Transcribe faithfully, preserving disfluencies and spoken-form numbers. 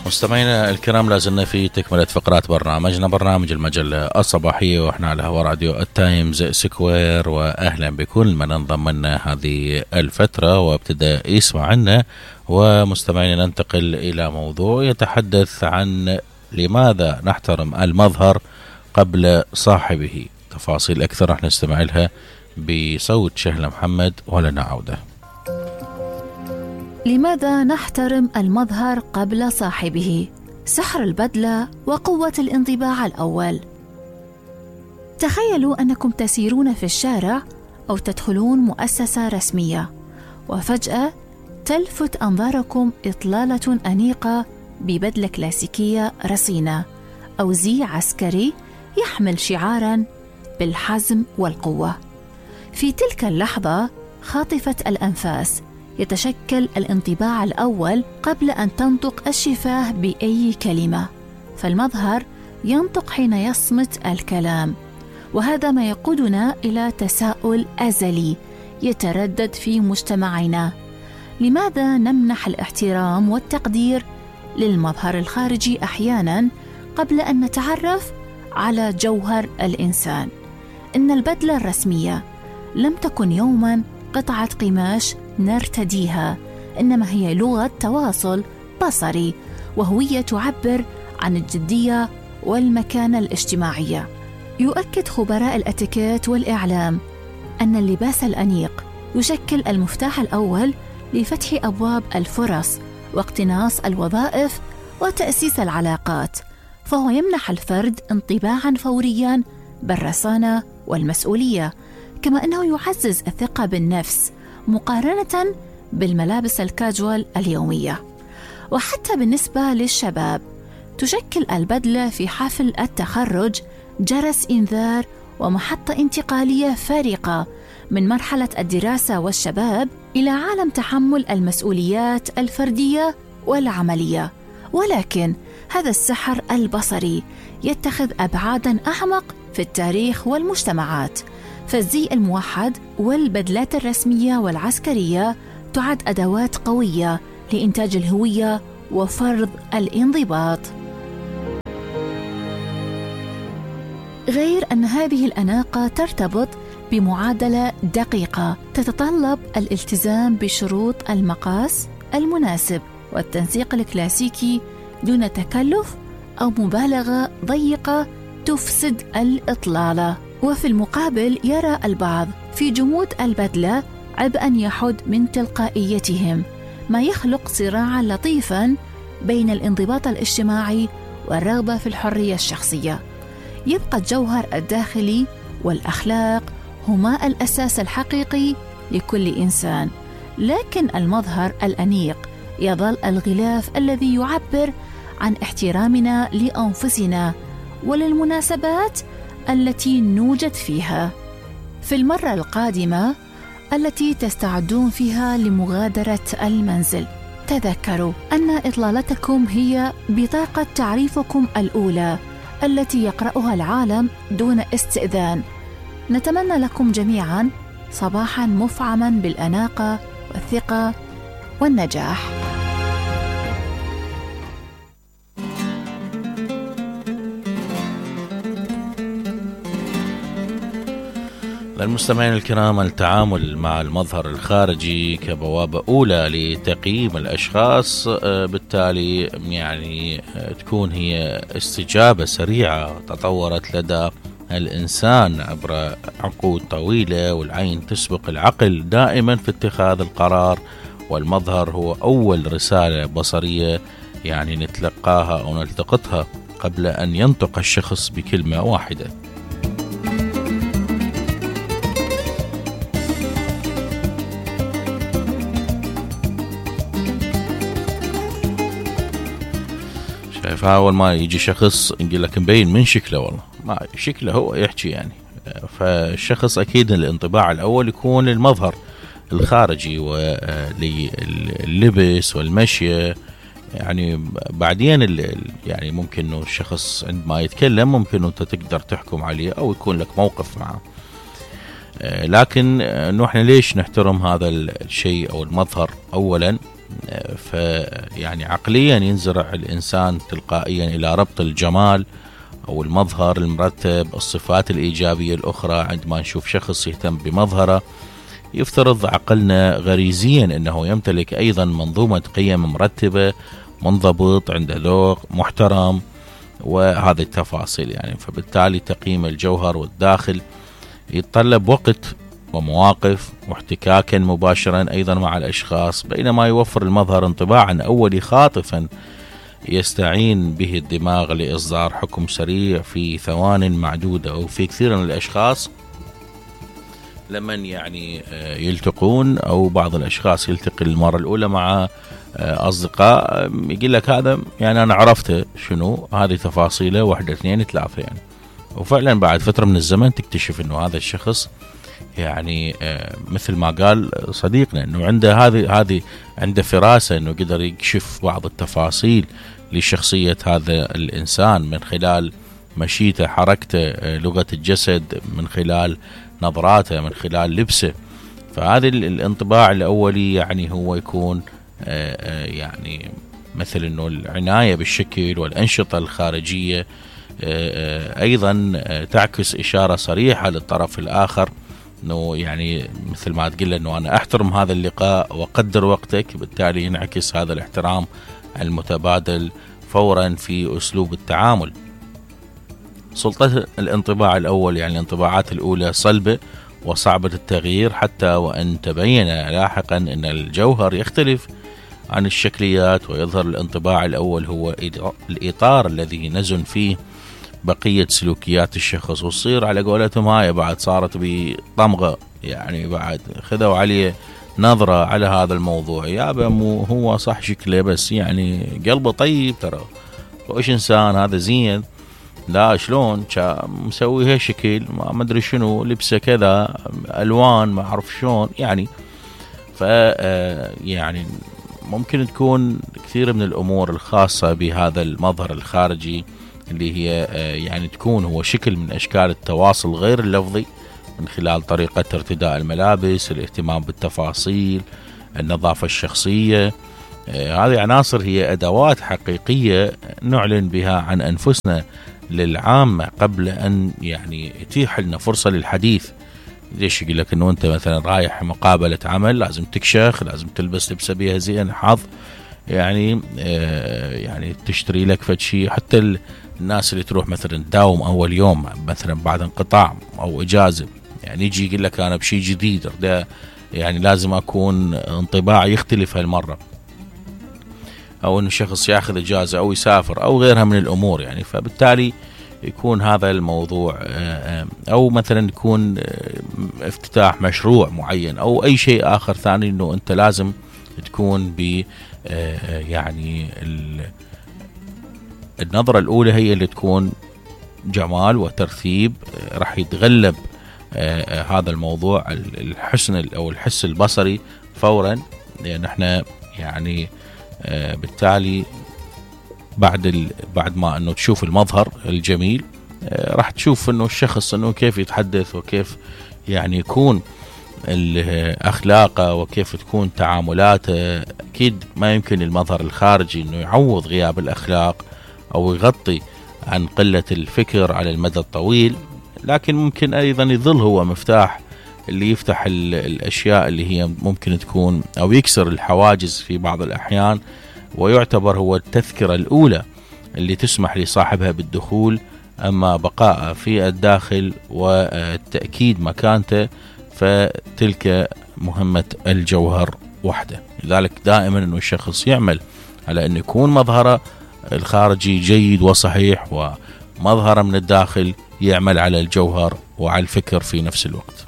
مستمعينا الكرام، لازلنا في تكملة فقرات برنامجنا، برنامج المجلة الصباحية، واحنا على هوا راديو التايمز سكوير. واهلا بكل من انضم لنا هذه الفترة وابتدأ يسمع عنا. ومستمعينا ننتقل الى موضوع يتحدث عن لماذا نحترم المظهر قبل صاحبه. تفاصيل اكثر رح نستمع لها بصوت شهلة محمد ولنا عودة. لماذا نحترم المظهر قبل صاحبه؟ سحر البدلة وقوة الانطباع الأول. تخيلوا أنكم تسيرون في الشارع أو تدخلون مؤسسة رسمية، وفجأة تلفت أنظاركم إطلالة أنيقة ببدلة كلاسيكية رصينة أو زي عسكري يحمل شعاراً بالحزم والقوة. في تلك اللحظة خاطفة الأنفاس يتشكل الانطباع الأول قبل أن تنطق الشفاه بأي كلمة، فالمظهر ينطق حين يصمت الكلام. وهذا ما يقودنا إلى تساؤل أزلي يتردد في مجتمعنا: لماذا نمنح الاحترام والتقدير للمظهر الخارجي أحياناً قبل أن نتعرف على جوهر الإنسان؟ إن البدلة الرسمية لم تكن يوماً قطعة قماش نرتديها، إنما هي لغة تواصل بصري وهوية تعبر عن الجدية والمكانة الاجتماعية. يؤكد خبراء الاتيكيت والإعلام أن اللباس الأنيق يشكل المفتاح الأول لفتح أبواب الفرص واقتناص الوظائف وتأسيس العلاقات، فهو يمنح الفرد انطباعاً فورياً بالرصانة والمسؤولية، كما أنه يعزز الثقة بالنفس مقارنة بالملابس الكاجوال اليومية. وحتى بالنسبة للشباب تشكل البدلة في حفل التخرج جرس إنذار ومحطة انتقالية فارقة من مرحلة الدراسة والشباب إلى عالم تحمل المسؤوليات الفردية والعملية. ولكن هذا السحر البصري يتخذ أبعاداً أعمق في التاريخ والمجتمعات، فالزي الموحد والبدلات الرسمية والعسكرية تعد أدوات قوية لإنتاج الهوية وفرض الانضباط. غير أن هذه الأناقة ترتبط بمعادلة دقيقة تتطلب الالتزام بشروط المقاس المناسب والتنسيق الكلاسيكي دون تكلف أو مبالغة ضيقة تفسد الإطلالة. وفي المقابل يرى البعض في جمود البدلة عبئاً يحد من تلقائيتهم، ما يخلق صراعاً لطيفاً بين الانضباط الاجتماعي والرغبة في الحرية الشخصية. يبقى الجوهر الداخلي والأخلاق هما الأساس الحقيقي لكل إنسان، لكن المظهر الأنيق يظل الغلاف الذي يعبر عن احترامنا لأنفسنا وللمناسبات التي نوجد فيها. في المرة القادمة التي تستعدون فيها لمغادرة المنزل، تذكروا أن إطلالتكم هي بطاقة تعريفكم الأولى التي يقرأها العالم دون استئذان. نتمنى لكم جميعاً صباحاً مفعماً بالأناقة والثقة والنجاح. للمستمعين الكرام، التعامل مع المظهر الخارجي كبوابة أولى لتقييم الأشخاص، بالتالي يعني تكون هي استجابة سريعة تطورت لدى الإنسان عبر عقود طويلة، والعين تسبق العقل دائما في اتخاذ القرار، والمظهر هو أول رسالة بصرية يعني نتلقاها أو نلتقطها قبل أن ينطق الشخص بكلمة واحدة. فأول ما يجي شخص يقول لك مبين من شكله، والله ما شكله هو يحكي يعني، فالشخص أكيد الانطباع الأول يكون المظهر الخارجي واللبس والمشية. يعني بعدين يعني ممكن إنه الشخص عندما يتكلم ممكن إنه أنت تقدر تحكم عليه أو يكون لك موقف معه. لكن إنه إحنا ليش نحترم هذا الشيء أو المظهر؟ أولا فيعني عقليا ينزرع الإنسان تلقائيا إلى ربط الجمال أو المظهر المرتب، الصفات الإيجابية الأخرى. عندما نشوف شخص يهتم بمظهره يفترض عقلنا غريزيا أنه يمتلك أيضا منظومة قيم مرتبة، منضبط، عنده ذوق، محترم، وهذه التفاصيل يعني. فبالتالي تقييم الجوهر والداخل يتطلب وقت ومواقف واحتكاكا مباشرا أيضا مع الأشخاص، بينما يوفر المظهر انطباعا أولي خاطفا يستعين به الدماغ لإصدار حكم سريع في ثوان معدودة. وفي كثير من الأشخاص لمن يعني يلتقون أو بعض الأشخاص يلتقي المرة الأولى مع أصدقاء يقول لك هذا يعني أنا عرفته شنو هذه تفاصيله، واحدة اثنين ثلاثة يعني. وفعلا بعد فترة من الزمن تكتشف أنه هذا الشخص يعني مثل ما قال صديقنا أنه عنده هذه هذه عنده فراسة أنه قدر يكشف بعض التفاصيل لشخصية هذا الإنسان من خلال مشيته، حركته، لغة الجسد، من خلال نظراته، من خلال لبسه. فهذا الانطباع الأولي يعني هو يكون يعني مثل أنه العناية بالشكل والأنشطة الخارجية أيضا تعكس إشارة صريحة للطرف الآخر أنه يعني مثل ما تقول أنه أنا أحترم هذا اللقاء وقدر وقتك، بالتالي ينعكس هذا الاحترام المتبادل فورا في أسلوب التعامل. سلطة الانطباع الأول يعني الانطباعات الأولى صلبة وصعبة التغيير، حتى وأن تبين لاحقا أن الجوهر يختلف عن الشكليات، ويظهر الانطباع الأول هو الإطار الذي نزن فيه بقية سلوكيات الشخص، وتصير على قولتهم هاي بعد صارت بطمغة يعني، بعد خذوا عليه نظرة على هذا الموضوع. يابا مو هو صح شكله بس يعني قلبه طيب ترى، وإيش إنسان هذا زين، لا شلون مسوي هالشكل ما أدري شنو، لبسه كذا، ألوان ما أعرف شلون يعني. ف يعني ممكن تكون كثير من الأمور الخاصة بهذا المظهر الخارجي اللي هي يعني تكون هو شكل من أشكال التواصل غير اللفظي من خلال طريقة ارتداء الملابس، الاهتمام بالتفاصيل، النظافة الشخصية. هذه عناصر هي أدوات حقيقية نعلن بها عن أنفسنا للعامة قبل أن يعني يتيح لنا فرصة للحديث. ليش يقول لك أنه أنت مثلا رايح مقابلة عمل لازم تكشخ، لازم تلبس لبسة بيها زين حظ يعني آه يعني تشتري لك فد شيء. حتى الناس اللي تروح مثلا تداوم أول يوم مثلا بعد انقطاع أو إجازة يعني يجي يقول لك أنا بشيء جديد ده يعني لازم أكون انطباع يختلف هالمرة، أو أن شخص يأخذ إجازة أو يسافر أو غيرها من الأمور يعني. فبالتالي يكون هذا الموضوع أو مثلا يكون افتتاح مشروع معين أو أي شيء آخر ثاني، أنه أنت لازم تكون ب يعني النظرة الأولى هي اللي تكون جمال وترتيب، راح يتغلب هذا الموضوع الحسن أو الحس البصري فورا، لأن احنا يعني بالتالي بعد ال... بعد ما انه تشوف المظهر الجميل راح تشوف انه الشخص انه كيف يتحدث وكيف يعني يكون اخلاقه وكيف تكون تعاملاته. اكيد ما يمكن المظهر الخارجي انه يعوض غياب الاخلاق او يغطي عن قلة الفكر على المدى الطويل، لكن ممكن ايضا يظل هو مفتاح اللي يفتح ال... الاشياء اللي هي ممكن تكون او يكسر الحواجز في بعض الاحيان، ويعتبر هو التذكرة الأولى اللي تسمح لصاحبها بالدخول، أما بقاء في الداخل والتأكيد مكانته فتلك مهمة الجوهر وحده. لذلك دائما أنه الشخص يعمل على أن يكون مظهره الخارجي جيد وصحيح، ومظهره من الداخل يعمل على الجوهر وعلى الفكر في نفس الوقت.